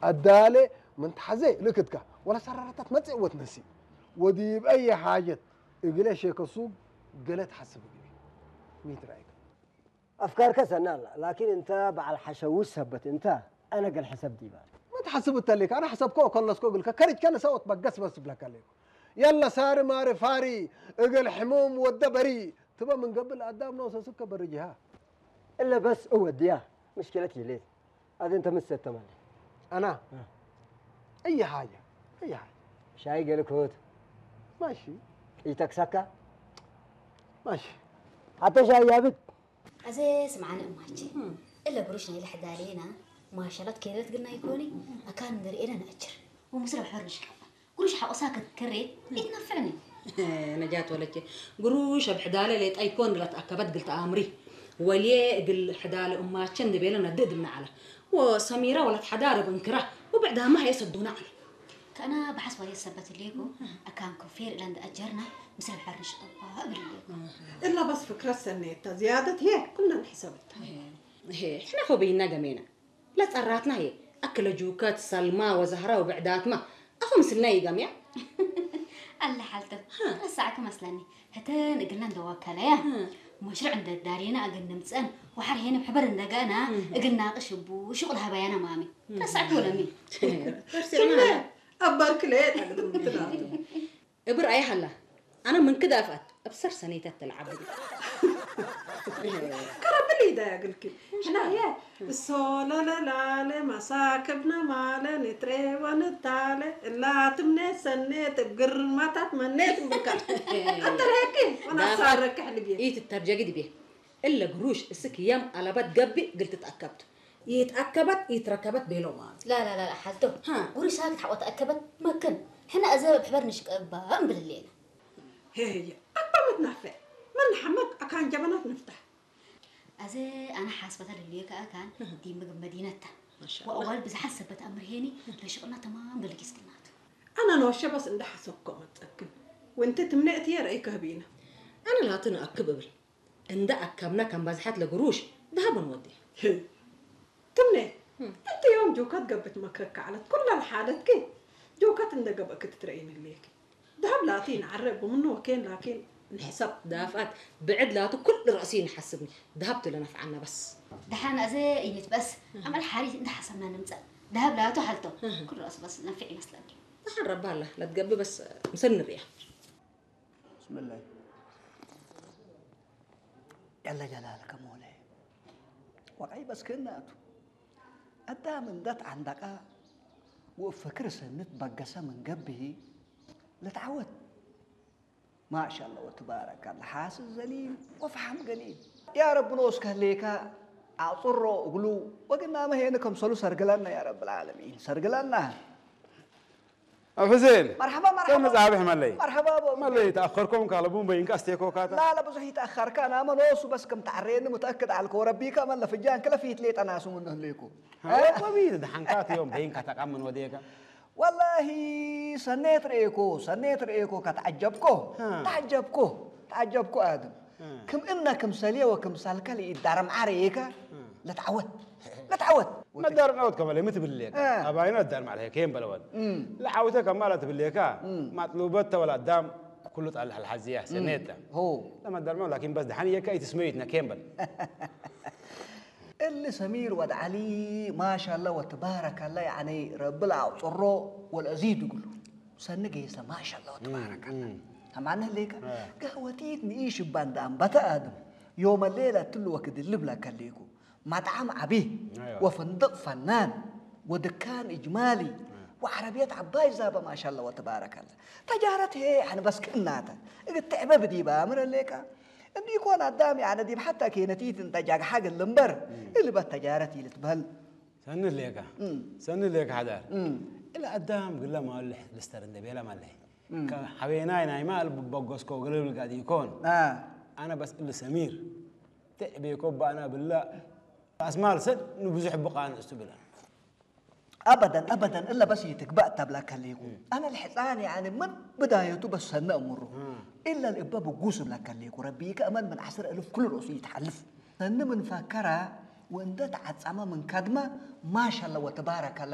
ኣዳለ ምን ተሓዘ ልክትካ ወላ ሰራራታት መጽእ ወትነሲ ወዲብ ኣየ ሓጀት እግለ ሸከሱ ገለ ተሓስብ ግቢ ሚት ራይክ ኣፍካርከ ሰናላ ላኪን እንተ በዓል ሓሸዊ ሰበት እንተ ኣነ ገል ሕሰብ ዲባ ما تحسب التلك انا حسبكو كلسكو قلك كرج كان سوت بقس بس بلك عليكم يلا ساري ماري فاري اقل حموم ود بري تبا من قبل ادام نوس سكه برجها እለ በስ እወድያ ምሽኪለት ይሌት ኣደ እንተ ምሰተማለ انا اي حاجه اي حاجه ሻይ ገልክት ماشي ይተክሰካ ماشي ሓተ ሻይ ያብት ኣዘ ስምዓኒ እማቼ እለ ብሩሽ ናይ ልሕዳሌና ማሻላት ከይረት ግና ይኮኒ ኣካን ንርእኤና ንኣጅር ወምስለ ብሕር ንሽቀባ ጉሩሽ ሓቆሳ ክትከሬ ይትነፍዕኒ ነጃት ወለቼ ጉሩሽ ኣብ ሕዳለ ሌጣ ይኮን ላት ኣከበት ግልተ ኣምሪ ወልየ እግል ሕዳለ እማቸ እንድቤለ ነድእ ድምና ዓላ ወሰሚራ ወላት ሓዳረ በንክራ ወብዕዳማ ሃየ ሰዱና ዓላ ከእና ብሓስባየ ሰበት ሌጎ ኣካን ኮፌር እለ እንድኣጀርና ምስለ ብሕር ንሽቀባ እብል ሌጎ إلا بس فكرة سنيتها زيادة هي كلنا نحسبتها ሕና ኸበይና ገሜና ለጸራትና ህየ ኣክለ ጁከት ሰልማ ወዛህራ ወብዕዳትማ ኣኹ ምስልና ይገምያ ኣለ ሓልተ ረሳዕኪ መስለኒ ህተን እግልና እንደዋከለያ መሽርዕ እንደዳሪና እግን ንምፀን ወሓር ሄነ ብሕበር እንደገና እግና ቅሽቡ ሹቅ ለሃባያና ማሚ ረሳዕኪ ወለሚ ترسعنا أبارك ليه تقدم تلاته እብር ኣይ ሃላ ኣነ ምንክድ ኣፍኣት እብ ሰር ሰነይታት ተልዓብ كربلي ده يا قلكي احنا هي الصولة لا لا لا مساكبنا ما لا نتري ونتالي إلا تمني سنيت بقرمتات منيت بكا أنت هيك وأنا صارك حلبي ኢትተርጀጊ ድቤ እለ ግሩሽ እስክ የም ኣለበት ገብእ ግልትት ኣከብት ይትኣከበት ይትረከበት ቤሎ ማለት لا لا لا لا ሓልቶ ሃ። ጉሩሽ ሳክት ሓቆት ኣከበት መክን ሕና እዘ ብሕበር ንሽቀባ እምብልሌና هي هي أبا متنفع من حمد أكان جبنات نفتح ኣዘ ኣነ ሓስበታ ልልየ ከኣ ካን ዲ ምግብ መዲነታ ወኣዋል ብዝሓት ሰበት ኣምርሄኒ ለሽቕና ተማም በልጊስክናቱ أنا نوشة بس عند حسبكم متأكد وانت تمنعتي يا رأيك هبينا ኣነ ላትን ኣክብ እብል እንዳ ኣካብና ከም ባዝሓት ለግሩሽ ደሃብ ንወዲ تمنع انت يوم جوكات قبت مكرك على كل الحالات كي جوكات عند قبك تترين ليك دهب لاتين عرب ومنه وكين لكن نحسب ዳፍኣት ብዕድ ላቱ ኩሉ ርእሲ ንሓስብኒ ደሃብ ትለ ነፍዓና በስ ደሓን ኣዘ ይንት በስ ኣመል ሓሪት እንተ ሓሰብና ንምፀእ ደሃብ ላቱ ሓልቶ ኩሉ ራሱ በስ ነንፍዕ ይመስለኒ ደሓን ረባ ኣላ ለትገብእ በስ ምሰል ንርእያ بسم الله يلا جلالك مولاي وقعي بس كناتو أدام اندت عندك وفكر سنت بقسة من قبه لتعود ما شاء الله وتبارك الله حاسس زليل وفحم قليل يا رب نوسك ليك أعطره أقلو وقلنا ما هي نكم صلو سرقلنا يا رب العالمين سرقلنا ኣብ ሕዜን مرحبا مرحبا ተመጻብሕ መለይ مرحبا መለይ ተኣኸርኩም ካልቡን በይንካ ኣስቴኮካታ لا لا ብዙሕ ይተኣኸርካ ናመ ኖሱ በስ ከም ተዓረየኒ متأكد ዓልኮ ረቢካ መለ ፍጃን ክለ ፊት ሌጠ ናሱ ምንህ ሌኩ ወቢ ድሓንካት እዮም በይንካ ተቃምን ወዴካ والله ሰኔት ርኤኮ ሰኔት ርኤኮ ከተዓጀብኮ ተዓጀብኮ ተዓጀብኮ ኣድም ክም እነ ክም ሰልየ ወክም ሳልከል ይዳረምዓ ርኤካ ለትዓወት ለትዓወት መዳርም ዓወት ከመለ ምትብል ሌካ እ። ኣባይና ዳርም ዓለ ከየም በለወን ለዓውተ ከማላ ትብል ሌካ ማጥሉበት ተወላ ዳም ኩሉ ጣል ሐልሐዚያ ሰኔታ هو ለመዳርም ላኪን በስ ደሓን የካ ይትስመዩትና ከየም በል اللي سمير ود علي ما شاء الله وتبارك الله يعني رب العطرو والأزيد يقول سنة جيسة ما شاء الله وتبارك الله هم عنه ليك قهوتيت نعيش باند أم بتا آدم يوم الليلة تلو وقت اللبلة كليكو مطعم عبي أيوة. وفندق فنان ودكان إجمالي وعربية عباي زابة ما شاء الله وتبارك الله تجارت هي يعني بس كناتا قد تعبة بدي بامر ليك እንዲ ይኮን ኣዳም ያነ ዲብ ሓታ ኬነቲት እንተ ጃግሓ ግልምበር እልበት ተጃረት ኢልትበል ሰኒ ሌካ ሰኒ ሌካ ሓዳር እለ ኣዳም ግለ ማልሕ ልስተር እንደ ቤላ ማለይ ሓቤናይ ናይ ማል በጎስኮ ግልብል ጋዲ ይኮን ኣነ በስ እሊ ሰሚር ትዕቤኮ ባእና ብላ ኣስማል ሰድ ንብዙሕ ብቃ ንእስቱ ብላ أبدا أبدا إلا بس يتقبأ تبلا كليكو أنا الحصان يعني من بدايته بس سنة أمره إلا الإبا بقوس بلا كليكو ربي يك أمل من عشر ألف كل رؤوس يتحلف سنة من فكرة وإن ده تعتصم من كدمة ما شاء الله وتبارك الله